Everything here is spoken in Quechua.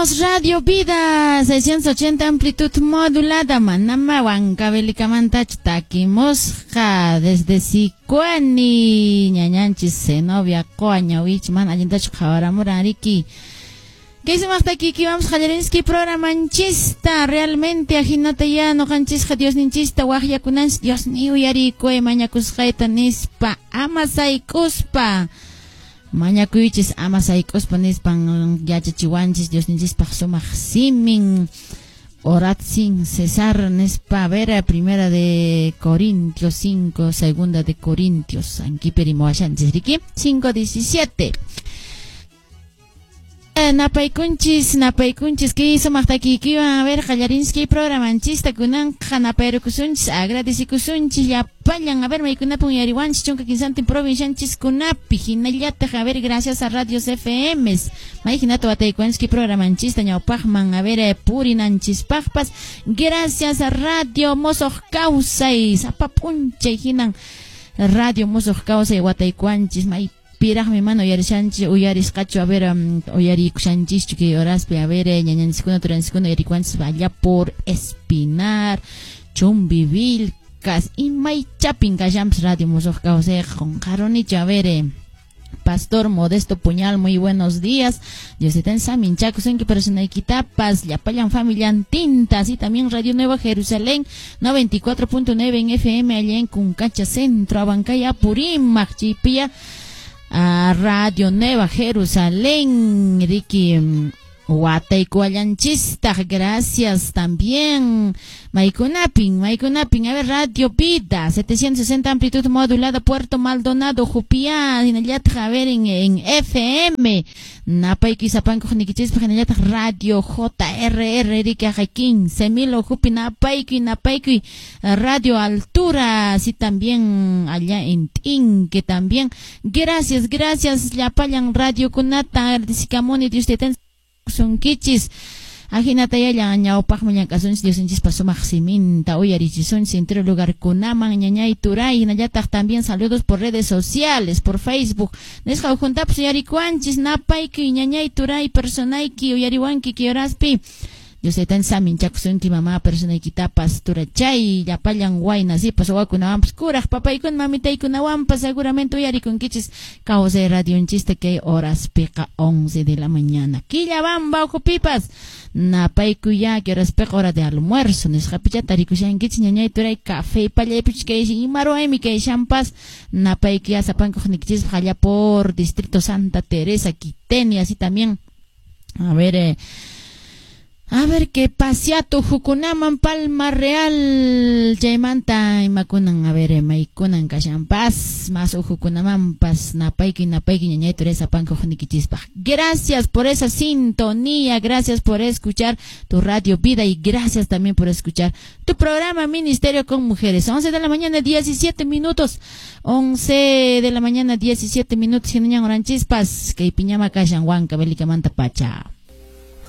Somos Radio Vida, 680 amplitud modulada, manama Huancavelicamantachu takimusqa desde Sicuani, ñañanchis Zenobia Qoa ñawich, mana allintachu qhawaramuran riki. Kay sumaq takiykiwanpas qallarinski programanchista, realmente ajinata ya noqanchisqa Diosninchista waqyakunanchis, Dios ni uyarikuy mañakusqayta nispa, ama sayk'uspa. Mañakuychis ama sayk'uspa nispan yachachiwanchis Diosninchispaq sumaq simin. Orad sin cesar nispa, a ver, primera de Corintios 5, segunda de Corintios, ankiperimuwashanchis riki, 5:17. Napaykunchis, napaykunchis, kay sumaq takiykiwan, a ver, qallarinchis programanchista, kunanqa napayrukusunchis, agradecikusunchis, llapallan, a ver, maykunapin uyariwanchis, 13 provincianchiskunapi, hinallataq, a ver, gracias a Radios FMs, may hinata wataykuwanchis kay programanchista, ñawpaqman, a ver, purinanchispaqpas, gracias a Radio Mosoq Kawsay, sapa p'unchay hinan Radio Mosoq Kawsay wataykuwanchis, may piraqmi mana uyarishanchis, uyarisqachu, a ver, uyarikushanchischu kay horaspi, a ver, ñañanchiskuna, turanchiskuna uyarikuwanchis allá por Espinar, Chumbivilcas, imay chapin kashanpas Radio Mosoq Kawsay, qonqarunichu, a ver, Pastor Modesto Puñal, muy buenos días. Dios te saminchakusunki personaykitapas, llapallan familiantinta, así también Radio Nueva Jerusalén, 94.9 en FM, allá en Cuncacha Centro, Abancay, Apurímac, Chipía, a Radio Nueva Jerusalén, Ricky Wataykuallanchistaq, gracias también. Maykunapin, maykunapin, a ver, Radio Vida, 760 amplitud modulada, Puerto Maldonado, Jupiá, hinallataq, a ver, en FM, napayki sapankuq nikichispaq, hinallataq Radio JRR, riki, ajay 15,000 ujupi, napaykuy, napaykuy, Radio Altura, así también allá en Tinque también. Gracias, gracias, llapallan radio kunata, agradecikamuni, Dios te sunkichis. Ajinata yallan ñawpaqman llank'asunchis Diosninchispa sumaq siminta uyarichisunchis entero lugarkunaman ñañay turay, hinallataq también saludos por redes sociales, por Facebook. Nisqa ukhuntapas uyarikuwanchis, napaykuy ñañay turay personayki uyariwanki kay horaspi. Dios taytan saminchakusunki mamá personaykitapas turachay llapallan wayna sipas wawakunawanpas kuraq papaykuna mamitaykunawanpas seguramente uyarikunkichis kawsay radionchista kay horaspiqa 11 de la mañana. Quillabamba ukhupipas napaykuy kay horaspiqa hora de almuerzo nisqapicha tarikushankichis ñañay turay café pallaypichus kay ima ruwaymi kayshanpas napaykuy sapankuq nikichispaq allá por Distrito Santa Teresa, Quiteni, así también. A ver, a ver qué pasiato hukunaman Palma Real chaymanta imakunan, a ver, maykunan kashanpas más ujukunamanpas napayki napayki ñañay turay sapankuq nikichispaq. Gracias por esa sintonía, gracias por escuchar tu Radio Vida y gracias también por escuchar tu programa Ministerio con Mujeres. 11 de la mañana 17 minutos, 11 de la mañana 17 minutos, hinañan oranchispas kay piñama kashan Huancavelica pacha.